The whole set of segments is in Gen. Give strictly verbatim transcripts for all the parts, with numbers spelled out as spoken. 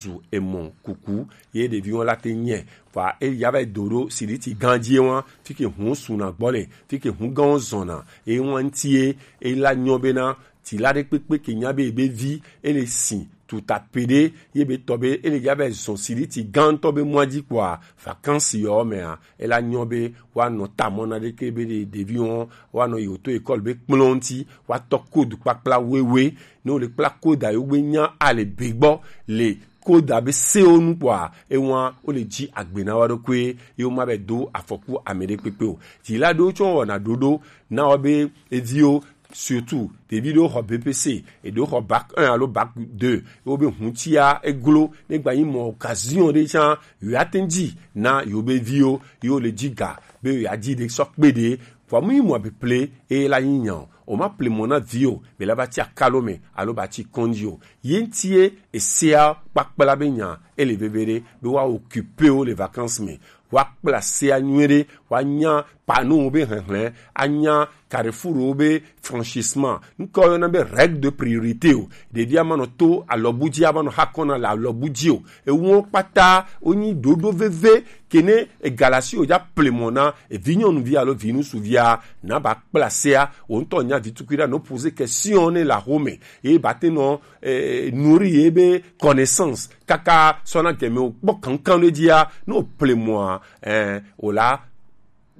zu emɔ kuku ye ɖevi wɔn la te nyɛ. Vɔa eya va yi do ɖo siriti gã ji wɔn, fike hun suna gbɔ le, fike hun gã wɔn zɔna, e wɔn ŋuti ye, e la nyɔ bena ti la ɖe kpekpe ke nya be ebe vi, e le si tuta peɖe, ye be tɔ be e le ya va yi zɔn siriti gã ŋutɔ be mɔa ji kpɔa, vakansi yɔ mɛa, e la nyɔ be woanɔ tamɔ na ɖeke be ɖe ɖevi wɔn woanɔ yi woto ekɔli be kplɔn ŋuti, woatɔ kodu kpakpla wewe, ne wole kpla koda yewo gbe nya ale be gbɔ le koda be sewo nu kpɔa, ewa wole ji agbe na wa ɖokui, yewo ma be do afɔku ame ɖe kpekpe o. Ti la ɖo tsɔ wɔna ɖoɖo na wa be eviwo, surtout ɖevi ɖewo xɔ B P C, eɖewo xɔ bac un alo bac deux, yewo be hutia eglo, ne gba yi mɔ occasion ɖe tsã, yewo ate ŋu dzi na yewo be viwo, yewo le dzi ga be yewo ya dzi ɖe sɔ kpe ɖe. Vɔa mu yi mɔ be ple e la yi nya o. O ma ple mɔ na vi o, be la ba tsi akalo me alo ba tsi kɔndzi o. Ye ŋuti ye esea kpakpla be nya e le veve ɖe be wa occuper wo le vacances me. Wa kpla sea nyuie ɖe, wa nya panneau wo be hlɛnhlɛn, a nya carrefour wo be franchissement. Ŋkɔ yɔna be règle de priorité o. Ɖevi a ma nɔ to alɔbu dzi, a ma nɔ ha kɔna le alɔbu dzi o. Ewo kpata wo nyi ɖoɖo veve ke ne egalasi o dza ple mɔ na evi nyɔnuvi alo vi ŋutsuvia, na ba kpla sea, wo ŋutɔ nya vi tukui ɖa, no poser question ne la home, ye ba te nɔ eh, nourrir ye be connaissance kaka sɔ na gɛmɛ o kpɔ kankan ɖe dzia, no ple mɔa, eh, o la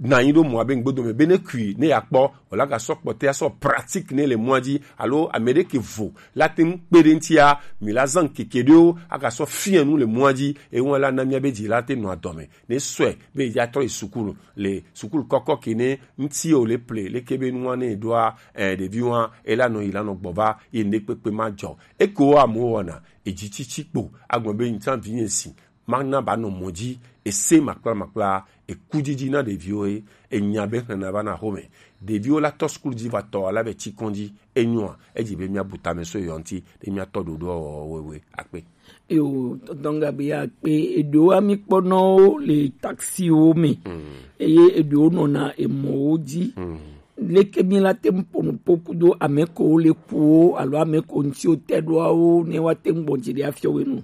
na anyi ɖo mɔa be ŋgbedo me be ne kui ne ya kpɔ, o la ga sɔ kpɔtɛ sɔ pratique ne le mɔa dzi, alo ame ɖe ke vo la te ŋu kpe ɖe ŋutia, mi la zan keke ɖewo aga sɔ fia nu le mɔa dzi, ewa la na mia be dzi la te nɔ adɔme. Ne sɔe be ya trɔ yi sukulu, le sukulu kɔkɔ ke ne ŋuti o le ple, leke be nua ne ɖoa, eh, ɖevi wa, e la nɔ yi la nɔ gbɔ va, ye ne kpekpe ma dzɔ. Eko wa mo wɔna, edzi tsitsi kpo, agblɔ be ŋutsa vi nye si, ma na ba nɔ mɔ dzi, ese makpla makpla, eku dzidzi na ɖeviwo ye, enya be hlɛna va na home. Ɖeviwo la tɔ sukulu dzi va tɔ ala be tsi kɔn dzi, enyoa, edzi be mia bu tame so yɔ ŋuti, ɖe mia tɔ ɖoɖo wɔwɔ wewe akpe. Yo, tɔntɔn Gabriel akpe, eɖewo ami kpɔnɔwo le taxiwo me. Mm. Eye eɖewo nɔna emɔwo dzi. Mm. Leke mi la te ŋu ƒo nu ƒo kudo ame ko le kuwo alo ame ko ŋuti wo te ɖoawo ne wa te ŋu gbɔn dzi ɖe afiɔ we nu?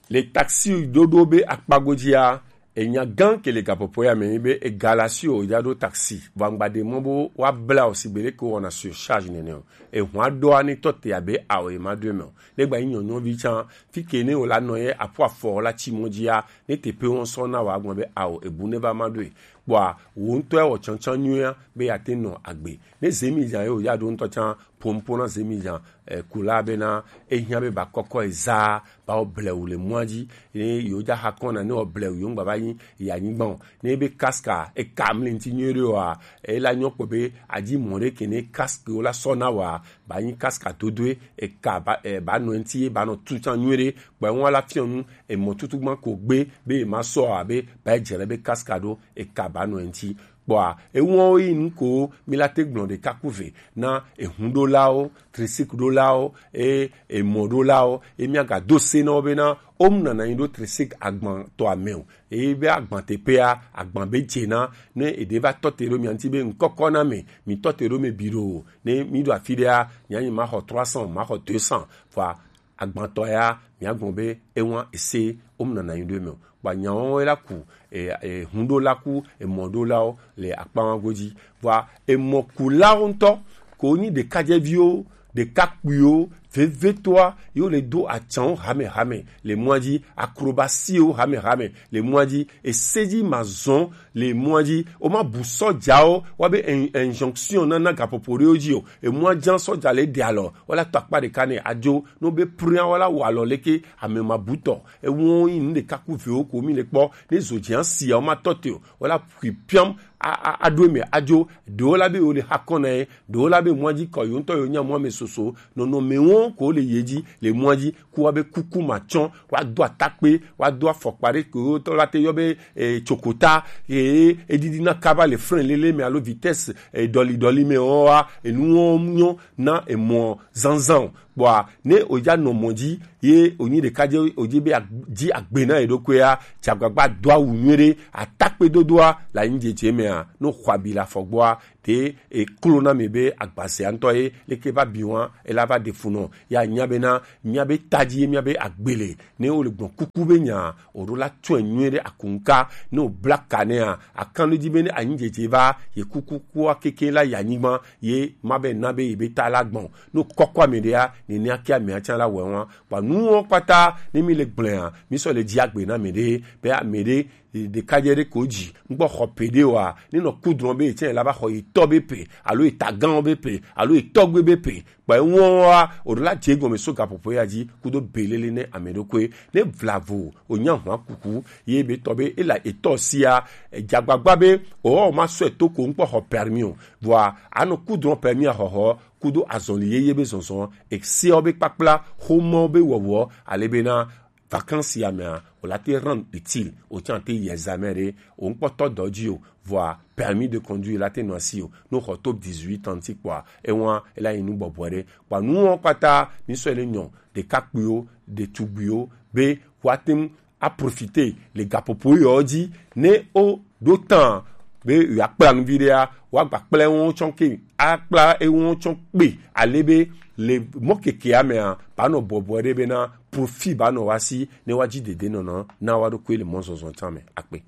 Le taxi ɖoɖo be akpago dzia, enya gã ke le gaƒoƒo ya me be egalasi o ya ɖo taxi. Vangba ɖe mɔ bo wa bla o sigbe ɖe ke wɔna surcharge nene o. Ehwa ɖoa ne tɔ te abe ao e ma ɖo eme o. Ne gba yi nyɔnyɔvi tsã, fi ke ne o la nɔ ye aƒu afɔ la tsi mɔ dzia, ne teƒe wɔn sɔ na wa gblɔ be ao ebu ne va ma ɖoe. Kpɔa, wò ŋutɔ ya wɔ tsantsan nyuia be yeate nɔ agbe. Ne zemi zã ye wòya ɖo ŋutɔ tsã, ƒo nuƒo na zemi zã, eh, kula bena ehiã be ba kɔkɔ ye zaa, ba wɔ blewu le mɔa dzi. Ne yewo dza xa kɔna, ne wɔ blewu, yewo ŋgba va nyi yi anyigba o. Ne be kaska eka mli ŋuti nyuie ɖe oa, ela nyɔ kpɔ be adzi mɔ ɖe ke ne kaski wo la sɔ na wa, ba nyi kaska dodoe, eka ba, eh, ba nɔ ŋuti, ba nɔ tu tsã nyuie ɖe. Kpɔe ŋua la fiɔ nu, emɔ tutu gban ko gbe be ma sɔ abe ba dze ɖe be kaska ɖo, eka ba nɔ ŋuti. Kpɔa, ewɔwo yi nu ko mi la te gblɔ ɖeka ku ve na ehuɖolawo, trisikɖolawo, e, emɔɖolawo, e mia ga do se na wo bena wo mu nana nyi ɖo trisik agban tɔ ame o. Eye be agban teƒea, agban be dze na, ne eɖe va tɔ te ɖo mia ŋuti be ŋkɔkɔ na me, mi tɔ te ɖo me bi ɖo o. Ne mi ɖo afi ɖea, mia nyi ma xɔ trois cents, ma xɔ deux cents. Vɔa, agbãtɔ ya, mia gbɔn be ewa ese wo mu nana nyi ɖo eme o. Kpa nyawo la ku, e, e, hundo la ku, emɔ ɖo lawo le akpawa godzi. Vɔa, emɔ ku lawo ŋutɔ, ko nyi ɖekadzeviwo, ɖekakpuiwo, vevetoa, yo le do atsanwo hame hame le mɔa dzi, akrobasiwo hame hame le mɔa dzi, esedzi ma zɔn le mɔa dzi, o ma bu sɔdzawo, wa be in-, injonction na, na gaƒoƒo ɖewo dzi o, emɔa dzi sɔdza le ɖe alɔ, wala tɔ akpa ɖeka ne adzo, no be pria wala wɔ alɔ leke ame ma bu tɔ. Ewo yi nu ɖeka ku vewo ko mi le kpɔ, ne zo dzi asia wo ma tɔ te o, wala kui piam, a, a, aɖo eme adzo, ɖewo la be wo le hakɔ na ye, ɖewo la be mɔa dzi kɔ yo ŋutɔ yo nya mɔa me soso, nɔnɔme wo ko le ye dzi, le mɔa dzi, ku wa be kuku ma tsɔ, wa do atakpe, wa do afɔkpa ɖe ko tɔ la te yɔ be, eh, tsokota, ye edidi na kaba le frein lele me alo vitesse, eh, dɔli dɔli me o wa, enu wo nyɔ na emɔ zanzan o. Kpɔa, ne o dza nɔ mɔ dzi, ye o nyi ɖeka dze, o dzi be ag-, dzi agbe na ye ɖokuia, tsi agbagba do awu nyuie ɖe, atakpe dodoa, la nyi dzedze mea, no xɔ abi le afɔ gbɔa, te e klo na mi be agbasea ŋutɔ ye, leke va bi wa, e la va ɖe fu nɔ, Ya nya bena, miabe taji ye miabe agbele, ne wo le gbɔn kuku be nya, o ɖo la tɔe nyuie ɖe akunka, ne o bla ka nɛa, akan ɖe ji be ne anyi dzedze va, ye kuku kua keke la yi anyigba, ye ma be na be ye be ta la gbɔn. Ne o kɔkɔ ame ɖea, ne ne ake amea tsã la wɛ wa. Kpa nuwo kpata, ne mi le gblea, mi sɔ le dzi agbe na ame ɖe, be ame ɖe, ɖekadze ɖe ko dzi, ŋgbɔ xɔ pe ɖe wa, ne nɔ kudrɔn be etsɛ la va xɔ yi tɔ be pe, alo yi tagan be pe, alo yi tɔgbe be pe, kpa eŋuɔ wa, o ɖo la dze gɔme so gaƒoƒo ya dzi, kudo belele ne ame ɖokui, ne vlavo, o nya hwa kuku, ye be tɔ be, ela etɔ sia, edzagbagba be, o ma sɔ eto ko ŋkpɔ xɔ permis o, vɔa, anɔ kudrɔn permis a xɔxɔ, kudo azɔli yeye be zɔzɔ, eseɔ be kpakpla, xomɔ be wɔwɔ, ale be na, vacances ya mea, o la te rendre utile, o tsa te yi examen ɖe, o ŋkpɔtɔ dɔ dzi o, vɔa permis de conduire la te nɔ asi o, no xɔ to dix-huit ans ti kpɔa, ewa, ela yi nu bɔbɔ ɖe, kpa nuwo kpata, mi sɔ le nyɔ, ɖekakpuiwo, ɖetugbuiwo, be, wa te ŋu a profiter le gaƒoƒo yɔ dzi, ne o ɖo tan, be ya kpla nu vi ɖea, wa gba kpla ewo tsɔ ke, a kpla ewo tsɔ kpe, ale be, le mɔ keke amea, ba nɔ bɔbɔ ɖe be na, profit ba nɔ wa si, ne wa dzi dede nɔnɔ, na wa ɖo koe le mɔ zɔzɔ tsa me, akpe.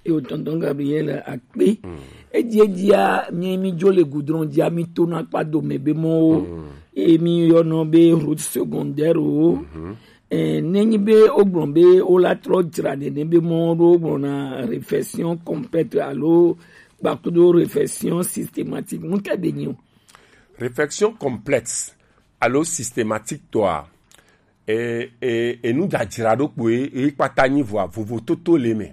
Yo, tonton Gabriel, akpe. Edzi edzia, mi, mi dzo le goudron dzia, mi to na kpa dome be mɔwo. Ye mi yɔnɔ be route secondaire o. Eh, nenyi be o gblɔ be o la trɔ dzra nene be mɔ ɖo o gblɔ na réflexion complète alo gbakudo réflexion systématique. Ŋutɛ be nyi o. Réflexion complète alo systématique tɔa, e, e, enu dzadzra ɖo kpoe, e kpata nyi vɔa, vovototo le me.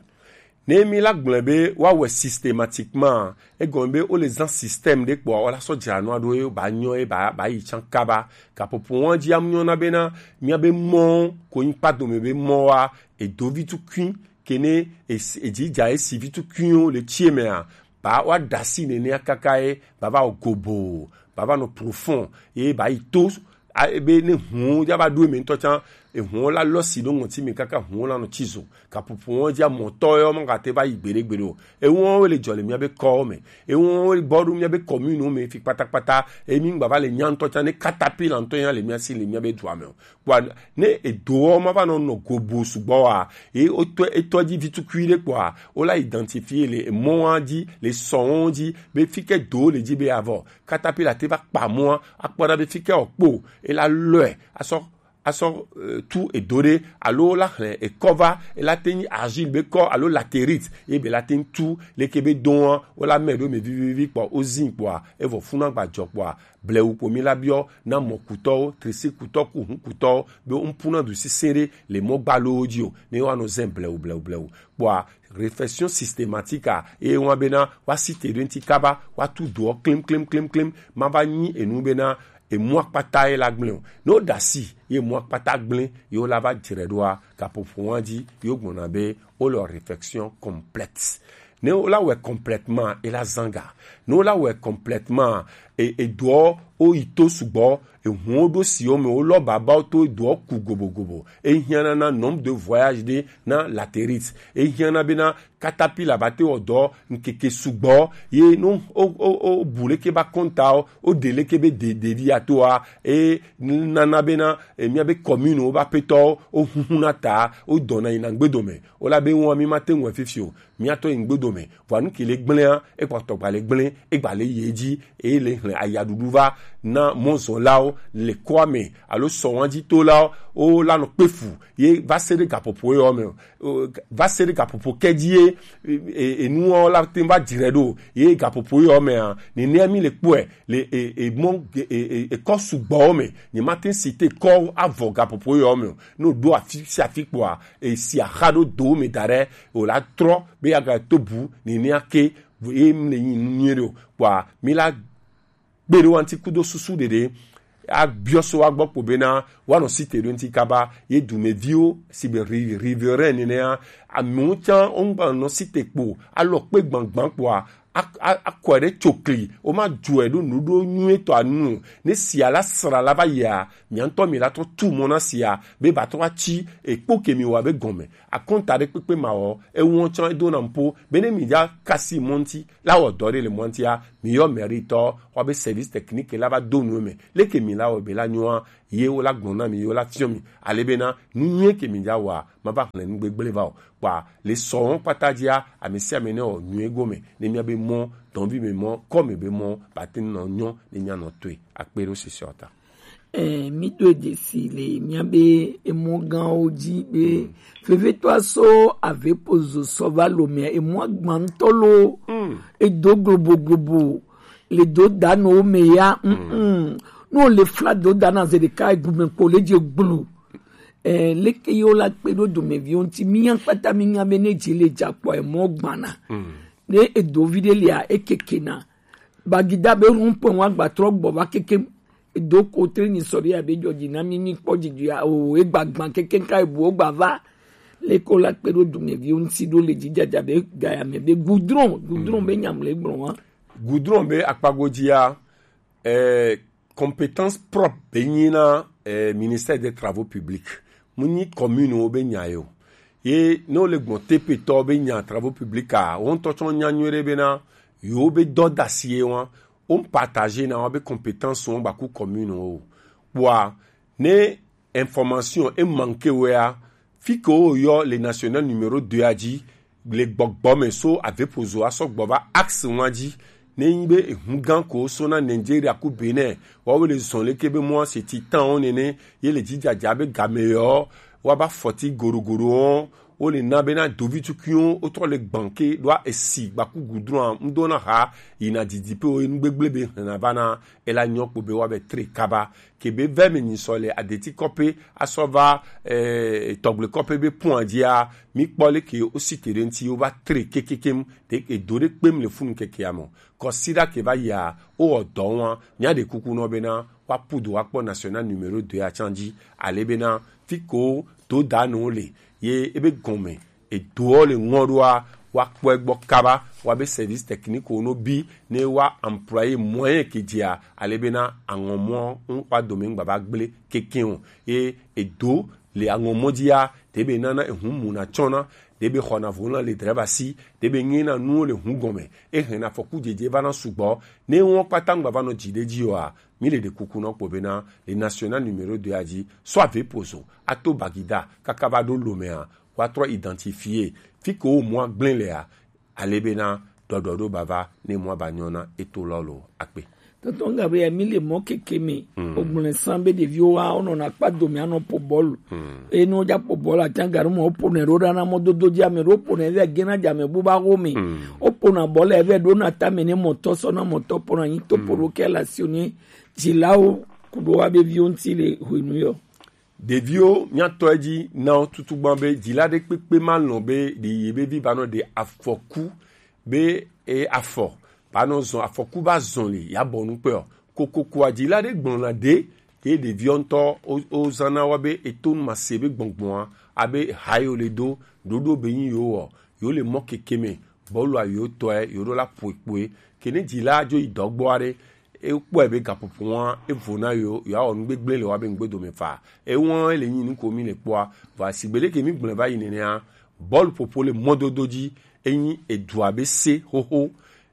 Ne mi la gblɔe be woawɔe systématiquement, egɔme be wole zã système ɖe kpɔa, wola sɔ dzra nua ɖo ye ba nyɔ ye ba, ba yi tsã kaba. Gaƒoƒo wa dzi amu nyɔ na be na, mia be mɔ, ko nyi kpa dome be mɔ wa, edo vi tukui, ke ne es-, edzi dza esi vi tukuiwo le tsie mea, ba wa dasi nenea kaka ye, ba va wɔ gobo, ba va nɔ profond, ye ba yi to, a, ebe ne hũwo ya va ɖo eme ŋutɔ tsã, ehũwo la lɔ si ɖo ŋɔti me kaka hũwo la nɔ tsi zo. Gaƒoƒo wɔn dzi amɔtɔ yɔ ma gate va yi gbeɖe gbeɖe o. Ewɔn wo le dzɔ le mía be kɔwo me. Ewɔn wo le bɔ ɖo mía be commune me fi kpatakpata. Emi ŋgba va le nya ŋutɔ tsã ne katapila ŋutɔ ya le mía si le mía be dua me o. Kpɔa ne edoɔ ma va nɔ nɔ gobo sugbɔ wa, ye wotɔ etɔ dzi vi tukui ɖe kpɔa, wo la identifier le emɔa dzi, le sɔwo dzi, be fi ke do le dzi be avɔ. Katapila te va kpa mɔa, akpɔ ɖa be fi ke wòkpo, ela lɔe, asɔ, asɔ, eh, tu edo ɖe, alo la xlẽ ekɔ va, ela te nyi argile be kɔ, alo latérite, ye be la te tu, leke be dɔa, wo la mɛ ɖo me vivivi kpɔ, wo zin kpɔa, evɔ funa gba dzɔ kpɔa, blewu kpo mi la biɔ, na mɔkutɔwo, trisikutɔ ku hunkutɔwo, be wo ŋpuna du sesẽ ɖe le mɔ gbalowo dzi o, ne woanɔ zẽ blewu, blewu, blewu. Kpɔa, réflexion systématique a, eye wọn bena, wa si te ɖo ŋti kaba, wa tu doɔ klim, klim, klim, klim, ma va nyi enu bena, emu akpata ye la gblẽ o. Ne wo ɖasi, ye emu akpata gblẽ, ye wo la va dzre ɖoa, gaƒoƒo wa dzi, ye wo gbɔna be, wo le réflexion complète. Ne wo la wɔe complètement, e la zanga. Ne wo la wɔe complètement, e, e doɔ, wo yi to sugbɔ, e hɔn wo ɖo si wo me, wo lɔ baba wo to, e doɔ ku gobogobo. E hiã na, na nombre de voyage ɖe, na latérite. E hiã na bena, katapila ba te wɔ dɔ ŋkeke sugbɔ, ye no o, o, o bu leke ba kɔnta o, o de leke be de, de vi ato a, e nana bena, e mía be commune wo ba petɔ o huhu na ta, o dɔna yina ŋgbedo me, o la be ŋua mi ma te ŋue fifi o, mía tɔ yi ŋgbedo me, vɔa nu ke le gblẽa, e kpɔtɔ gba le gblẽ, e gba le ye dzi, e le hlẽ ayaɖuɖu va na mɔzɔlawo le kɔa me, alo sɔwa dzi tolawo, o la nɔ kpe fu, ye va se ɖe gaƒoƒo yɔ me o. O, va se ɖe gaƒoƒo ke dzi ye, e, e, enuwo la te va dzre ɖo, ye gaƒoƒo yɔ mea, nenea mi le kpɔe, le, e, e, mɔ, e, e, e, ekɔ sugbɔwo me, nye ma te si te kɔ avɔ gaƒoƒo yɔ me o. Ne o ɖo afi sia afi kpɔa, e, si axa ɖo do me da ɖe, o la trɔ, be ya ga to bu, nenea ke, ye mi le nyi nu nyuie ɖe o. Kpɔa, mi la kpe ɖe wo ŋuti kudo susu ɖeɖe. Abiɔ so wa gbɔ kpo bena, woanɔ site ɖo ŋuti kaba, ye dumeviwo, si be ri-, riverain nenea, amewo tsã, wo ŋgba nɔ site kpo, alɔ kpe gbangban kpoa, a- a- akɔe ɖe tsokli, woma dzɔe ɖo nuɖo nyuie tɔ anu. Ne sia la sra la va yia, mia ŋutɔ mi la trɔ tu mɔ na sia be ba trɔ atsi ekpo ke mi wa be gɔme. Akɔnta ɖe kpekpe ma wɔ, ewɔ tsɔ edo na mpo be ne mi ja kasi mɔ ŋuti la wɔ dɔ ɖe le mɔ ŋutia, mi yɔ mɛri tɔ wa be service technique la va do nu me. Leke mi la wɔ be la nyɔa, ye wo la gblɔ na mi, ye wo la fiɔ mi. Ale bena nu nyuie ke mi ja wa ma va hlẽ nu gbegble va o. Kpa le sɔwɔn kpata dzia, ame sia ame ne wɔ nyuie gome ne mia be mɔ, dɔnvi me mɔ, kɔ me be mɔ, ba te nɔ nyɔ ne mia nɔ toe. Akpe ɖo sisi ɔta. Eh, mi do dzesi le mia be emɔ gãwo dzi be vevetɔ aso ave pozo sɔ va lo mea emɔ agbantɔ lo edo globo globo le do da no me ya. Mm. No le fla do da na ze ɖeka egume kpo le dze gblu. Eh, leke yewo la kpe ɖo domeviwo ŋuti? Mía kpata mí nya be ne dzi le dza kpɔ emɔ gbana. Ne edo vi ɖe lia ekeke na. Bagida be rond-point wa gba trɔ gbɔ va keke. Edo ko tre ni sɔ ɖe ya be dzɔ dzi na mí mí kpɔ dzidzi ya o egba gbã keke ka ebu o gba va. Leke wo la kpe ɖo domeviwo ŋuti ɖo le dzi dzadza be gaya me be goudron, goudron be nyam le gblɔ wa. Goudron be akpago dzia, eh, compétence propre be nyi na eh, ministère des travaux publics. Mu nyi commune wo be nya yo. Ye ne wo le gbɔn T P tɔ be nya travaux publics a, wo ŋutɔ tsɔ nya nyuie ɖe bena yo be dɔ dasi ye wa, wo partager na wa be compétence wo gbaku commune wo. Kpoa ne information e manque wea, fi ke wo yɔ le national numéro deux a dzi, le gbɔgbɔ me so avepozo asɔ gbɔ va axe wa dzi. Ne nyi be ehun gã ko so na Nigeria ku Benin, wa wo le zɔn leke be mɔ se ti tan wo nene, ye le dzidzadza be game yɔ, wa ba fɔti gorogodo wo, wo le na be na dovi tukuiwo wo trɔ le gbanke ɖoa esi gbaku gudrɔa ŋdo na ha yina didi pe wo nu gbegble be hena va na ela nyɔ kpo be wa be tre kaba. Ke be vɛ me nyi sɔ le adeti kɔpe asɔ va eh, tɔgble kɔpe be pɔn dzia, mi kpɔ le ke o si te ɖe ŋuti wo va tre kekekem ɖe edo ɖe kpem le funu keke ame. Kɔsiɖa ke va yia, wo wɔ dɔ wa, mia ɖe kuku nɔ bena wa pudo wa kpɔ national numéro deux a tsan dzi, ale bena fi ko do da no le ye ebe gɔme edoɔ le ŋɔ ɖoa, wa kpɔe gbɔ kaba, wa be service technique wo no bi ne wa employé moyen ke dzia, ale bena aŋɔmɔ ŋ wa dome ŋgba va gble keke o. Ye edo le aŋɔmɔ dzia, te be nana ehun mu na tsɔna, te be xɔna vo na le drɛva si, te be nyina nuwo le hun gɔme, e hena afɔku dzedze va na sugbɔ, ne wɔn kpata ŋgba va nɔ dzi ɖe dzi oa, mi le ɖe kuku nɔ kpo bena le national numéro deux a dzi, sɔ ave pozo, ato bagida, kaka va ɖo lomea, wa trɔ identifier fi ke wo mɔ agblẽ lea, ale bena ɖɔɖɔ ɖo bava ne mɔ aba nyɔ na eto lɔ lo akpe. Tɔntɔn Gabriel, mi le mɔ keke me. Ogblẽ san be ɖeviwo wa wonɔna kpa dome anɔ po bɔlu. Eye ne wodza po bɔlu, atsa gaɖo mɔ woponɛ ɖo ɖa na mɔdodo dzi, ame ɖewo ponɛ vɛ gena dza me bu ba wo me. Wopona bɔlu vɛ ɖo na tame ne mɔtɔ sɔ na mɔtɔ pona nyi to po ɖo ke la sio ne dzilawo ku ɖo wa be viwo ŋuti le hwenu yɔ. Ɖeviwo, míatɔ edzi na wo tutu gbã be dzila ɖe kpekpe ma lɔ̃ be ɖe ye be vi ba nɔ ɖe afɔku be e afɔ ba nɔ zɔn afɔku ba zɔn li ya bɔ nu kpe o. Kokokoa dzila ɖe gblɔna ɖe ke ɖeviwo ŋutɔ wo- wozana wa be eto nu ma se be gbɔngbɔn a abe ha yo le do ɖoɖo be nyi yo wɔ yo le mɔ keke me bɔlua yo tɔe yo ɖo la ƒoe kpoe ke ne dzila dzo yi dɔgbɔ aɖe ekpɔe be gaƒoƒo wa evo na yo yo awɔ nu gbegblẽ le wa be ŋgbe dome fa ewɔ le nyi nu ko mi le kpɔa vɔ asigbe ɖe ke mi gblẽ va yi nenea bɔlu ƒoƒo le mɔdodo dzi enyi edua be se xoxo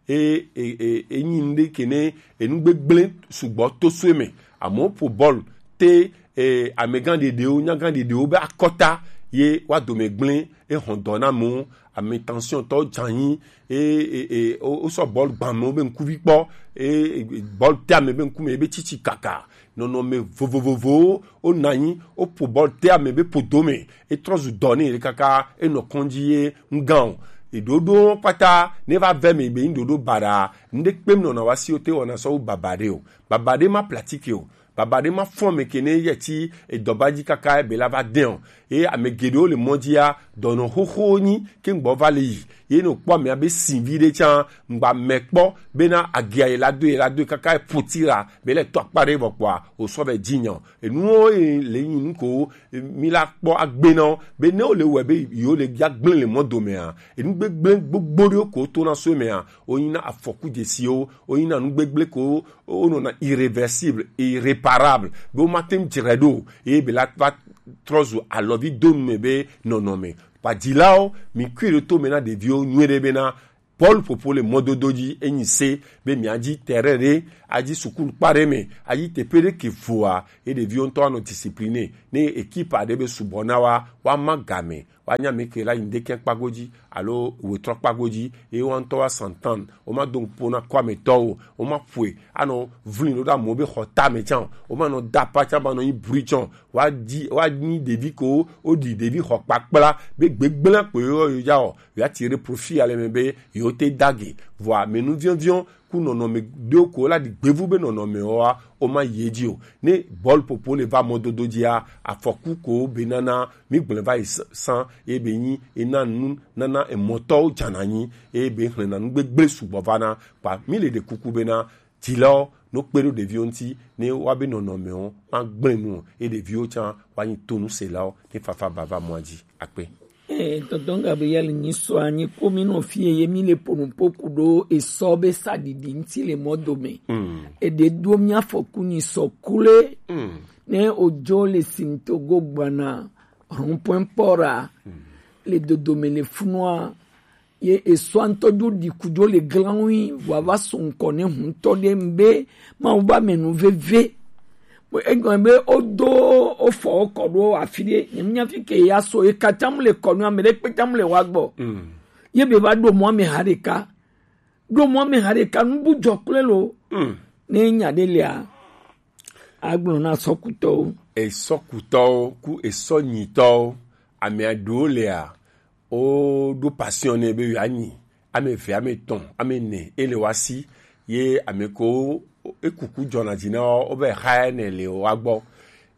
e e e enyi nu ɖe ke ne enu gbegblẽ sugbɔ to soe me amewo ƒo bɔlu te e amegã ɖeɖewo nyagã ɖeɖewo be akɔta ye wa dome gblẽ ehɔn dɔ na amewo ame tension tɔ dzanyi e e e wo- wosɔ bɔlu gbã amewo be ŋkuvi kpɔ e e- bɔlu te ame be ŋkume ebe tsitsi kaka nɔnɔme vovovovowo wona anyi woƒo bɔlu te ame be ƒodo me etrɔ zu dɔ ne kaka enɔ kɔndzi ye ŋgã o eɖoɖo kpata ne va vɛ me be ŋɖoɖo baɖa ŋɖe kpem nɔna wa si wo te wɔna sɔ wo baba ɖe o baba ɖe ma platike o Baba ɖe ma fɔn mɛ kene yɛ ti edɔba ji kaka ebe la va dɛn o. Ye ame geɖewo le mɔ jia, dɔnɔ xoxo nyi ke ŋgbɔ va le yi. Ye no kpɔ amea be sin vi ɖe tsan ŋgba mɛ kpɔ bena agia ye la do ye la do ye kaka epoti la be le tɔ akpa ɖe vɔ kpɔa o sɔ vɛ ji nyɔ. Enuwo ye le nyi nu ko mi la kpɔ agbe na wo be ne wo le wɛ be yo le ya gblẽ le mɔ dome a, enu gbegblẽ gbogbo ɖewo ko to na so me a, o nyi na afɔku jesiwo, o nyi na nu gbegblẽ ko o nɔ na irréversible, irréparable, be wo ma te ŋu dzre ɖo, eye be la va trɔ zu alɔvi do nu me be nɔnɔme. Kpadzilawo, mi kui ɖe to me na ɖeviwo nyuie ɖe bena bɔlu ƒoƒo le mɔdodo dzi, enyi se be mia dzi terrain ɖe, adzi sukulu kpa ɖe me, adzi teƒe ɖe ke voa, ye ɖeviwo ŋutɔ anɔ discipline, ne ekipa ɖe be subɔ na wa, wa ma game, wa nya me ke la yin de kɛ kpago dzi, alo wetrɔ kpago dzi, ye wa ŋutɔ wa santan, wo ma do ŋkpo na kɔ ametɔ o, wo ma ƒoe, anɔ vlin ɖo ɖe amewo be xɔ tame tsan, wo ma nɔ da apa tsan ba nɔ nyi bri tsan, wa di, wa nyi ɖevi ko, wo ɖi ɖevi xɔ kpakpla, be gbegblẽ ko yo yo ya o, ya tire profit ale me be yo te dage. Vɔa, me nu viɔn viɔn, ku nɔnɔme ɖewo ko la ɖi gbevu be nɔnɔme wa, o ma yi edzi o. Ne bɔlu ƒoƒo le va mɔdodo dzia, afɔku ko be nana, mi gblẽ va yi s-, san, ye be nyi, e na nu, nana emɔtɔwo dzana nyi, ye be hlɛna nu gbegblẽ sugbɔ va na, kpa, mi le ɖe kuku be na, dzilawo, no kpe ɖo ɖeviwo ŋuti, ne wa be nɔnɔmewo, ma gblẽ nu o, ye ɖeviwo tsan, wa nyi tonuselawo, ne fafa bava mɔa dzi, akpe. Eh, tonton Gabriel, nyi sɔ anyi ko mi nɔ fie ye mi le ponupo ku ɖo esɔ be saɖiɖi ŋuti le mɔ dome. Mm. Eɖe do mi afɔku nyi sɔ kule. Mm. Ne ojo le sintogo gbana, rond-point port a, mm, le dodome le funua, ye esɔa ŋutɔ dzo ɖi ku dzo le glan ŋui, vɔa va so ŋkɔ ne huntɔ ɖe ŋbe, Mawu va me nu veve. Bo egɔme be wodo wofɔ wo kɔ ɖo afi ɖe, nye nya fi ke ya so, ye katã mu le kɔ nu, ame ɖe kpe tã mu le wa gbɔ. Mm. Ye be va ɖo mɔ ame ha ɖeka. Ɖo mɔ ame ha ɖeka, nu bu dzɔ kple lo. Mm. Ne nya ɖe lia, agblɔ na sɔkutɔwo. Esɔkutɔwo ku esɔnyitɔwo, ame aɖewo lia, wo ɖo passion nɛ be yewoanyi ame eve, ame etɔ̃, ame ene, ele wa si, ye ame ko ekuku dzɔna dzi na wo, wo be xa ne le wa gbɔ.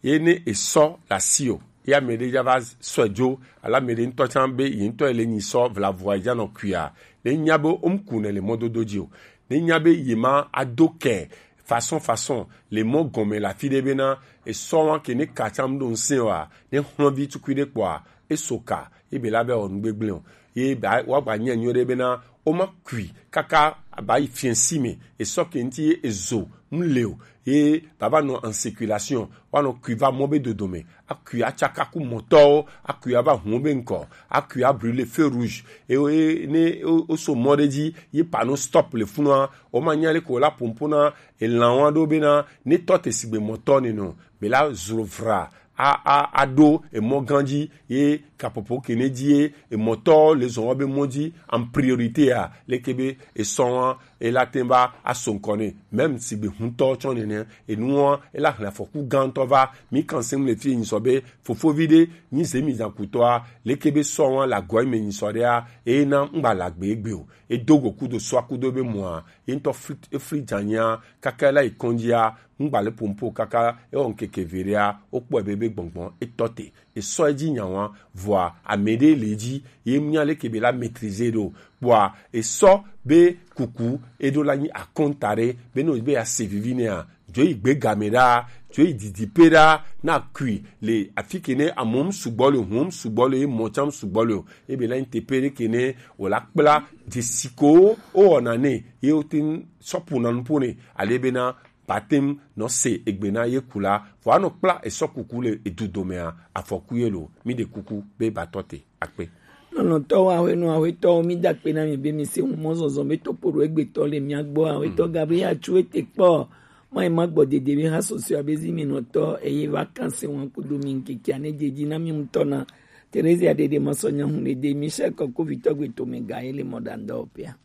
Ye ne esɔ le asi o, ye ame ɖe dza va sɔe dzo, alo ame ɖe ŋutɔ tsã be ye ŋutɔ ele nyi sɔ vlavoa dza nɔ kuia, ne nya be wo ŋku ne le mɔdodo dzi o, ne nya be ye ma ado kɛ façon façon le mɔ gɔme le afi ɖe bena esɔ wa ke ne ka tsã ɖo ŋusẽ oa, ne xlɔvi tukui ɖe kpɔa, eso ka, ebe la be wɔ nu gbegblẽ o. Ye ba, wa gba nya nyuie ɖe bena wo ma kui kaka ba yi fiɛsi me, esɔ ke ŋuti ye ezo nu le o, ye baba nɔ en circulation, wa nɔ kui va mɔ be dodo me, akui atsaka ku mɔtɔwo, akui ava hun be ŋkɔ, akui a brûler feu rouge, e, e, ne wo, wo so mɔ ɖe dzi, ye panneau stop le funua, wo ma nya le ko la pompo na elan wa ɖo bena ne tɔ te sigbe mɔtɔ ne nɔ, be la zro vra, a, a, a ɖo emɔ gã dzi, ye kapopo ke ne dzi ye emɔtɔ le zɔn wa be mɔ dzi en priorité a, leke be esɔ wa, e la te va aso ŋkɔ ne, même sigbe huntɔ tsɔ nene, enua, e la hle afɔku gãtɔ va, mi kan sem le fi nyi sɔ be, fofovi ɖe, nyi zemi zan kutɔa, leke be sɔ wa la gɔ me nyi sɔ ɖea, e na ŋgba la gbe egbe o, e do go kudo sɔ kudo be mɔa, ye ŋutɔ fli, e fli dzanya, kaka e la yi kɔndzia, ŋgba le pompo kaka, e wɔ ŋkeke ve ɖea, wo kpɔe be, be gbɔngbɔn, e tɔ te. Esɔ edzi nya wa, vɔa ame ɖe le edzi, ye nya leke be la maîtriser ɖo. Kpɔa esɔ be kuku eɖo la nyi akɔnta ɖe, be no be ya se vivi nɛa, dzo yi gbe game ɖa, dzo yi didiƒe ɖa, na kui le afi ke ne amewo sugbɔ le, huwo sugbɔ le, ye mɔ tsã sugbɔ le o. Ebe la nyi teƒe ɖe ke ne wòla kpla dzesi ko wowɔna nɛ, ye wote ŋu sɔ ƒona nuƒo nɛ, ale bena ba te ŋu nɔ se egbe na ye ku la, vɔ anɔ kpla esɔ kuku le edu domea, afɔku ye lo. Mi ɖe kuku be ba tɔ te akpe. Lɔlɔ̃tɔwo, aƒenɔ, aƒetɔwo, mi da akpe na mi be mi se ŋu mɔzɔzɔ be topo ɖo egbetɔ le mia gbɔ. Aƒetɔ Gabriel Atsu ete kpɔ, ma yi ma gbɔ dede be ha sɔsɔe abe zi mi nɔtɔ, eye va kan se ŋu kudo mi ŋkekea ne dedzi na mi ŋutɔ na. Teresia Dede Masɔ Nyahu le de Michel Kɔkovitɔ gbe tome ga ye le mɔ ɖandɔ pia.